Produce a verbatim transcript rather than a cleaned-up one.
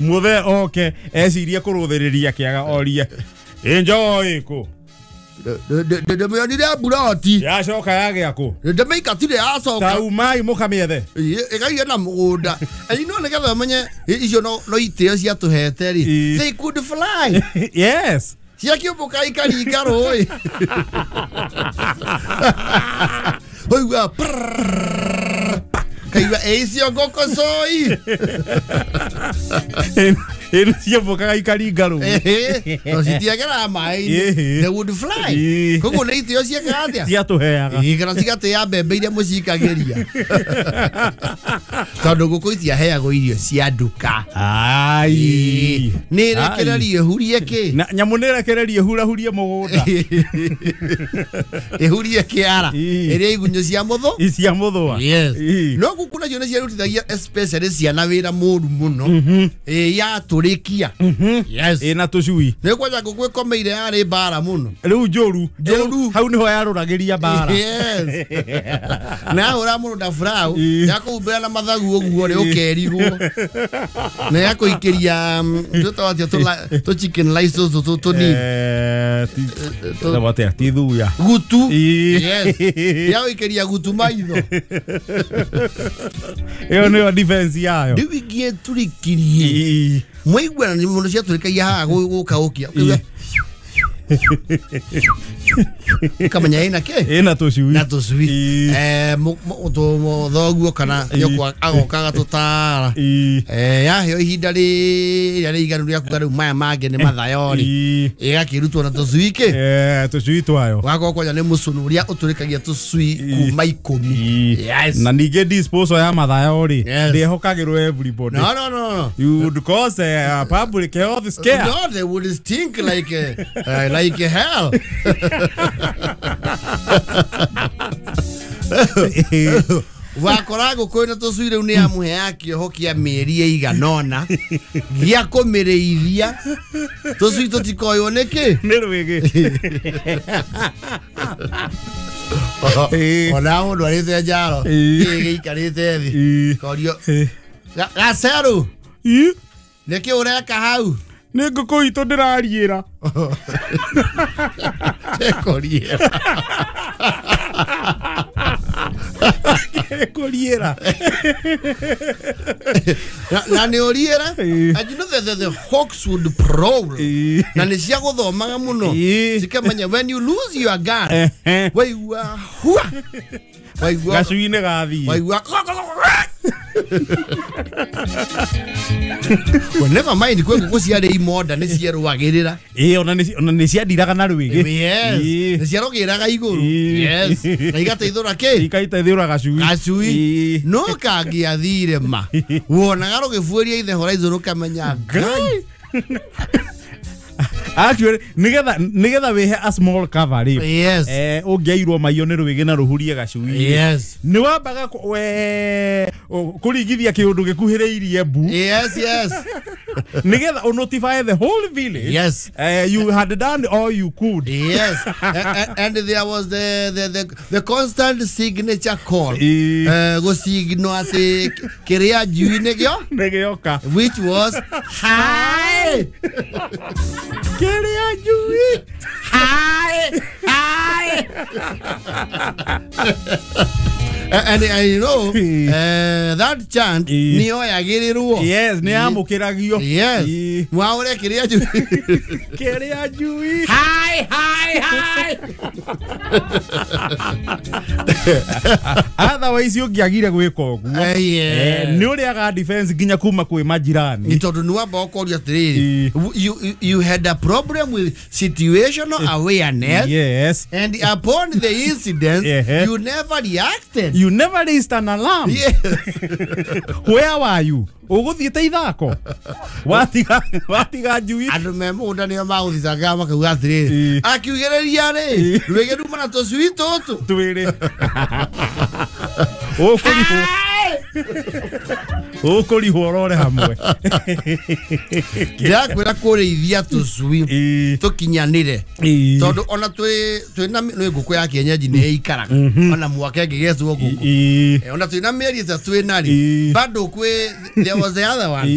Muthe oke ecirie kuruthiriria kiaga orie enjoy ku ndemĩonire mburoti yacoka yagĩa kũ ndĩmĩingatire yacoka ta umai mũkamĩethe ĩkaigĩa na mũgũnda and no nĩgetha ũmenye icio no no itĩo ciatũhete rĩ, they could fly. Yes, ciakĩũmbũka ikaringa rũĩ waigua kaigua ĩicio ngũkũ cũi ĩno ciũmbũkaga ikaringa rũĩ no citiageraga maĩ-inĩ, they would fly. Koguo nĩ itĩo ciekaga atĩa ciatũheaga kana cigatĩa mbembe iria mũcikagĩria tondũ ngũkũ itiaheagwo irio cia nduka. Ai nĩ ĩrekererie ĩhurie kĩ na nyamũ nĩ ĩrekererie ĩhurahurie mũgũnda ĩhurie kĩara ĩrĩa igunyũ cia mũthũ cia mũthũa. Yes, no ngũkũ nacio nĩ ciarutithagia especially ciana wĩra mũru mũno yatũrĩkia. Yes, ĩna tũcui nĩ kwanja ngũkũ ĩkomeire yarĩ mbara mũno rĩu njũru njũru hau nĩho yarũragĩria mbara. Yes, na yahũra mũndũ na furau yakũhumbĩra na mathagu ũguo rĩ ũkerigwo na yakũikĩria twĩtago atĩa tũ chicken rice tũtũ tũnini tũtũ ti thuya gutu. Yes, yagũikĩria gutu maitho ĩyo nĩyo defense yayo. Rĩu ingĩtũrĩkirie mwaiguana nĩ mũndũ ciatũrĩkagia haha gũka ũkia ukamenya ĩna kĩ ĩna tũcui na tũcui eh thoguo kana nyũkwa agoka agatũtara eh yaheo ihinda rĩrĩa rĩiganu rĩa kuga rĩu maya mangĩ nĩ mathayo rĩ ĩgakĩrutwo na tũcui kĩ eh tũcui twayo wakorwo kwanja nĩ mũcũnũ ũrĩa ũtũrĩkagia tũcui kuma ikũmi. Yes, na ningĩ disposal ya mathayo rĩ ndĩhokagĩrwo everybody. No no no no, you would cause a public health scare. No, they would stink like uh, like hell. Wakora ngũkũ ĩno tũcui rĩu nĩ yamũheaga kĩoho kĩa mĩeri ĩigana ũna gĩa kũmĩrĩithia tũcui tũtikoywo nĩkĩ nĩ rwĩgĩ. Ona mũndũ arĩte njaro gĩikarĩte thĩ korio gacerũ nĩkĩ ũreka hau nĩ ngũkũ itũ ndĩrariĩra ekũriĩra ekũriĩra na nĩ ũriĩra. And you know the, the, the hawks would prowl na nĩ cia gũthomaga mũno cikamenya when you lose your guard waigua hua waigua gacui-inĩ gathiĩ waigua. Well, never mind kwĩ ngũkũ ciarĩ imonda nĩ cierũagĩrĩra ĩĩ ona nĩ ciandiraga na rwĩgĩ. Yes, nĩ ciarũgĩraga igũrũ. Yes, na igateithũra kĩ igateithũra gacui gacui no kangĩathire ma wonaga rũgĩbuĩria ithe horizon ũkamenya Ngai. Actually nigetha nigetha wihe a small cover rĩ. Yes, eh ũngĩairwo maiyo nĩ rwĩgĩ na rũhurie gacui. Yes, nĩ wambaga we kũringithia kĩũndũ gĩkuhĩrĩirie mbu. Yes, yes, nigetha ũ notify the whole village. Yes, uh, you had done all you could. Yes, and, and there was the the the, the constant signature call uh, gũcigno atĩ kĩrĩa njui nĩgĩo nĩgĩoka which was hi kĩrĩa njui hi hi. And, and you know uh, that chant nĩ yoyagĩrĩrwo. Yes, nĩ yamũkĩragio. Yes, mwaũre kĩrĩa njui kĩrĩa njui hi hi hi. Otherwise ũngĩagire gwĩka ũguo nĩ ũrĩaga defense nginya kuma kwĩ majirani nĩ tondũ nĩ wamba ũkoria atĩrĩrĩ you, you had a problem with situational awareness. Yes, and upon the incident you never reacted. You never raised an alarm. Yes. Where were you? Ũgũthiĩte ithako watiga watiga njui andũ me mũgũnda nĩo magũthitangaga makauga atĩrĩrĩ akiugĩrĩria rĩ rwĩgĩ ruma na tũcui tũtũ twĩrĩ ũkũrihwo ũkũrihwo ũrore hamwe. Ndĩrakwĩra kũrĩithia tũcui tũkinyanĩre tondũ ona twĩ twĩna nĩ ngũkũ ya kienyeji nĩ ĩikaraga ona mwaka ĩngĩgecwo ngũkũ ona twĩna mĩeri ĩtatũ twĩna rĩ bado kwĩ there was the other one.